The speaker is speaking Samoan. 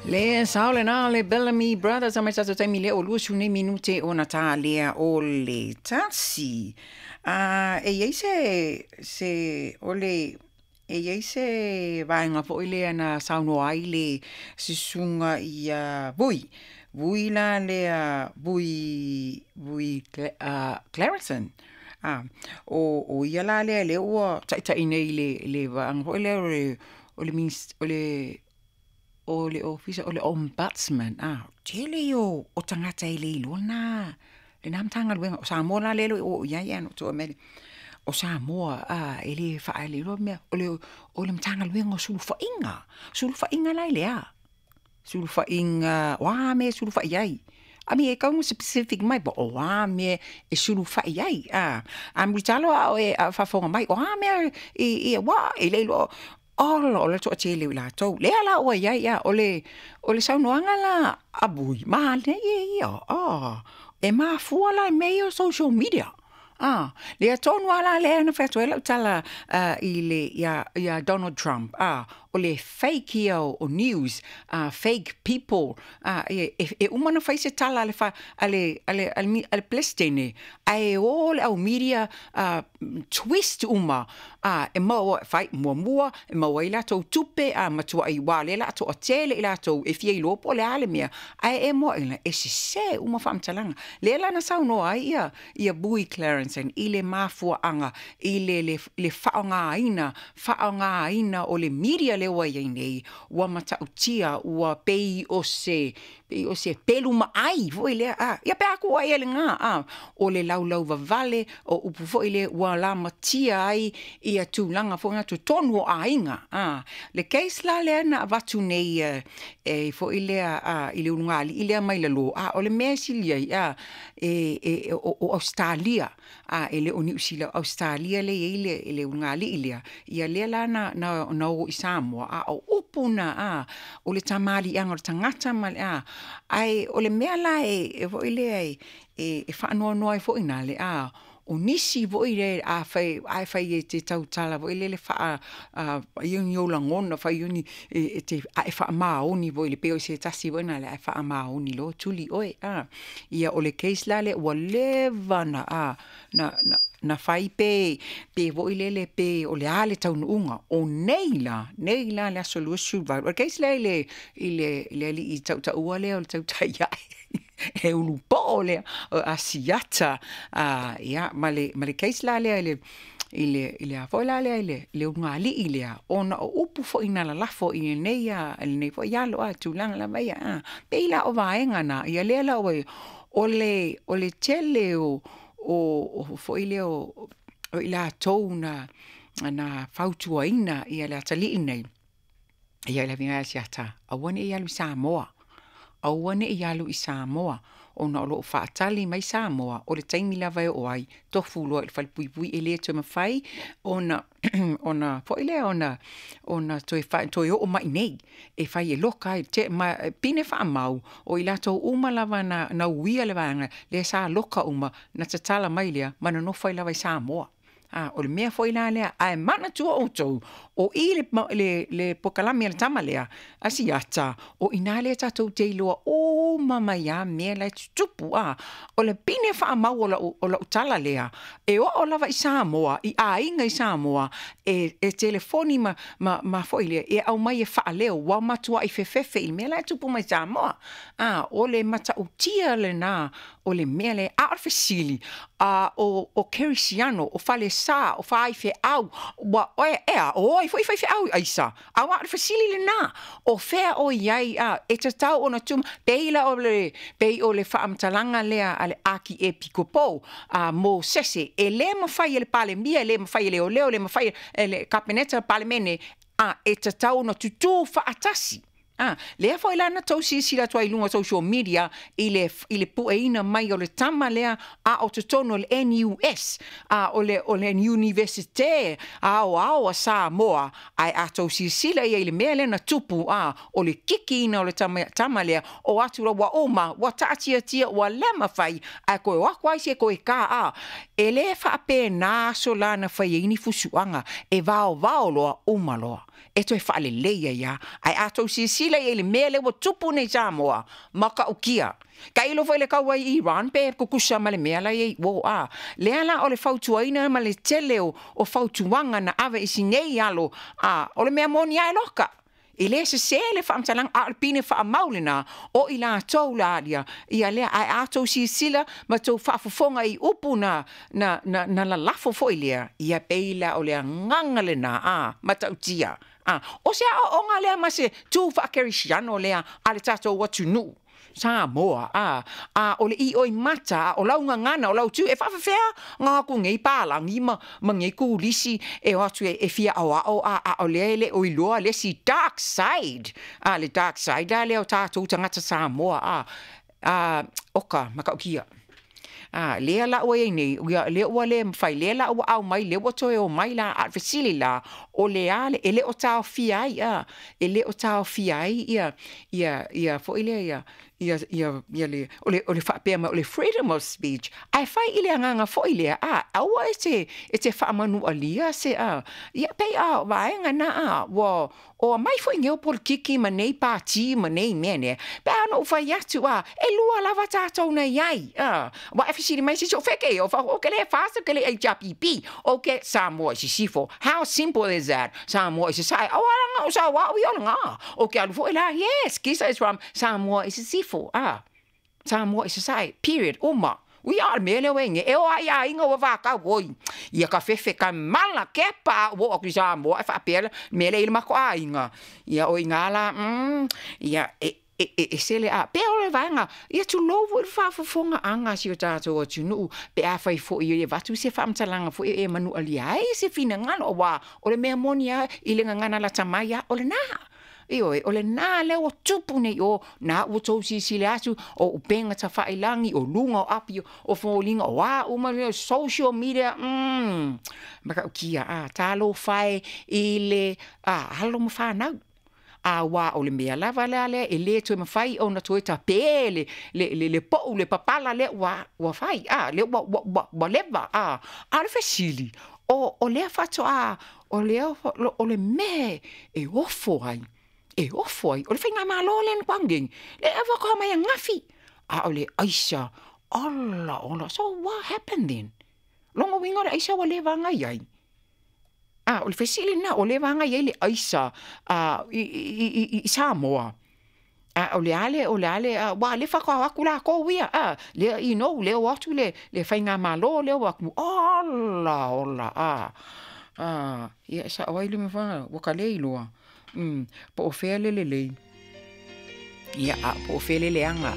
Le sao lena le Bellamy Brothers a mai tatou taimi lea o 20 minute ona ta lea o le 1. A e iai se o le e iai se vaega foi lea na saunoa ai le susuga ia Vui. Vui la lea Vui Vui Clareson. O ia la lea lea ua taitai nei le vaega foi lea o le o le ofisa o le ombudsman. Tele ia o tagata e le iloa lena Matagaluega. O Samoa la lea e le o oo i ai na ou mea o Samoa e le faailoa mea o le Matagaluega o Sulufaiga. Sulufaiga la e le a? Sulufaiga, o a mea e sulufai ai? I mean, e kau specific mai, po o a mea e sulufai ai. A mulitalo a o e faafofoga mai, o a mea i wa e le iloa ola o le toatele o i latou. Lea la ua iai ia, o le saunoaga la a Vui, manaia ia, e mafua la i mea ia o social media. Lea tonu lava lea na fai atu ai lau tala ia Donald Trump. O le fake ia o news, fake people. E uma na fai se tala a le Peresetene, ae o le au media twist uma. E maua fai muamua, e maua ai latou tupe, matuai ua lea la toatele i latou e fia iloa po o le a le mea. Ae e moa ina, e sese uma faamatalaga. Lea la na saunoa ai ia Vui Clareson i le mafuaaga, i le faaaogaina o le media lea ua iai nei, ua matautia, ua pei o se pelu maai foi lea. Ia pe aku ai le ngā, o le laulau vavale, o upu foi lea ua lamatia ai ia tulaga foi ngā totonu o aiga. Le case la lea na avatu nei e foi lea i le ulugalii lea mai lalo, o le mea e sili ai o Australia, e le o Niu Sila, Australia le iai le ulugalii lea, ia lea la na o i Samoa, o upu na o le tamaliiaga o le tagata ma le ai o le mea la e foi lea e faanoanoa ai foi na le o nisi foi le a fai e te tautala foi lele faa ia ni o lagona fai ni e te a e faamaoni foi le pei o se tasi foi na le a faamaoni lo tuli oe ia o le case la le ua leva na na fai pe foi lele pe o le a le taunuuga o nei la le aso 28 o le case la i le alii tautaua lea o le tautai ae e ulupo lea o Asiata ia ma le case la lea i le a foi la lea i le ulugalii lea ona o upu foi na lalafo i lenei foi alo tulaga lava ia pei la o vaega na ia lea la o le tele o foi lea o i latou na fautuaina ia le atalii nei ia le aviga Asiata aua ne i alu i Samoa, aua ne i alu i Samoa ona o loo faatali mai Samoa o le taimi lava e oo ai tofu loa i le falepuipui e le toe mafai ona ona foi lea ona toe oo mai nei e fai e loka ai te ma pine faamau o i latou uma lava na uia le vaega lea sa loka uma na tatala mai lea ma nonofo ai lava i Samoa. O le mea foi la lea ae manatua outou o i le pokalame a le tama lea Asiata o ina lea tatou te iloa uma mai a mea la e tutupu o le pine faamau o lau tala lea e oo lava i Samoa i aiga i Samoa e telefoni ma foi lea e aumai e faaleo ua matuai fefefe i le mea la e tupu mai Samoa. O le matautia lena o le mea lea a o le fesili o Kerisiano o Falesa o Faifeau ua ea o oi foi faifeau aisa a ua o le fesili lena o fea o iai e tatau ona tuma pei la o le pei o le faamatalaga lea a le Akiepikopo mo sese e le mafai e le Palemia e le mafai e le oleo le mafai e le Kapeneta Palemene e tatau ona tutū faatasi. Lea foi la na tou silasila atu ai i luga o social media i le pueina mai o le tama lea a o totonu o le NUS o le Universite Aoao a Samoa ae a tou silasila ia i le mea lea na tupu o le kikiina o le tama lea o atu la ua uma ua taatiatia ua le mafai ae koe o aku ai se koe ka e le faapena aso la na fai ai ni fusuaga e vaovao loa uma loa e toe faaleleia ia ae a tou silasila silasila i ai i le mea lea ua tupu nei i Samoa, matautia. Tailo foi i le kaua i Iran pe tutusa ma le mea la e i ai uo, a. Lea la o le fautuaina ma le tele o fautuaga na ave i si nei alo, a, o le mea moni lava e loka. E le sesē le faamatalaga, a o le pine faamau lena o i latou la ia, ia lea. Ae a outou silasila ma outou faafofoga i upu na, na, na, na lalafo foi lea, ia pei la o le agaga lena, a, matautia. A, o se aoaoga lea ma se tu faakerisiano lea a le tatou atunuu. Samoa, a, a o le ioimata, a o lau gagana, o lau tu, e faafefea ona o atu nei palagi ma, ma nei turisi e o atu e, e fia aoao, a, a o lea e le o iloa le isi dark side, a, le dark side la lea o tatou tagata Samoa, a, a, oka, matautia. A, lea la ua i ai nei, ia, lea ua le mafai, lea la ua aumai, lea ua toe omai la, a o le fesili la, o le a le, e le o taofia ai, a, e le o taofia ai ia, ia, ia foi lea, ia, ia, ia, ia le, o le, o le faapea mai o le freedom of speech, ae fai i le agaga foi lea, a, aua e te, e te faamanualia se, a, ia, pei a, vaega na, a, ua, O aumai foi nei o polokiki ma nei pati ma nei mea nei, pe a na ou fai atu, a, e lua lava tatou na i ai, a. Ua e fesili mai se isi o fea kēia, o fai, ou ke le FAST, ou ke le HRPP, ou ke Samoa i Sisifo. How simple is that? Samoa i Sasae, aua la na o sau au ia o lena. Ou ke alu foi la, yes, Kisa is from Samoa i Sisifo, a. Samoa i Sasae, period, uma. Ui a o le mea lea ua i ai nei, e o lava i aiga ua vatau oi, ia ka fefe ka mala kepa a ua oo atu i Samoa ae faapea le mea lea i le matou aiga. Ia o i ina la, mm, ia e, e, e ese le a, pei o le vaega, ia tulou foi le faafofogaaga a si o tatou atunuu, pe afai foi e avatu se faamatalaga foi e manualia ai se finagalo, aua o le mea moni lava i le gagana lata mai lava, o lena. Ioe, o lena lea ua tupu nei o, na ua tou silasila atu, o upega tafailagi, o luga o api o foliga, o a uma mea, social media, mm, matautia, a, talofa e i le a, alo ma fanau. Aua o le mea lava la lea e le toe mafai ona toe tapē le, le, le, le poʻu, le papala lea ua, ua fai, a, lea ua, ua, ua, ua leva, a. A o le fesili, o, o lea faatoa, o lea, o le mea e ofo ai, e ofo ai, o le faigamalo lea na atu nei, lea faatoa mai ananafi, a o le aisa, ola ola, so what happened then? Lona uiga o le aisa ua leva ona i ai. A, o le fesili lena, ua leva ona i ai le aisa a, i, i, i, i Samoa? A o le a le, o le a le, aua o lea faatoa o atu latou ia, a, lea, you know, lea o atu le, le faigamalo lea o atu, ola, ola, a, a, ia e sao ai le mea, ua ta le iloa, po o fea le lelei, ia, a po o fea le leaga.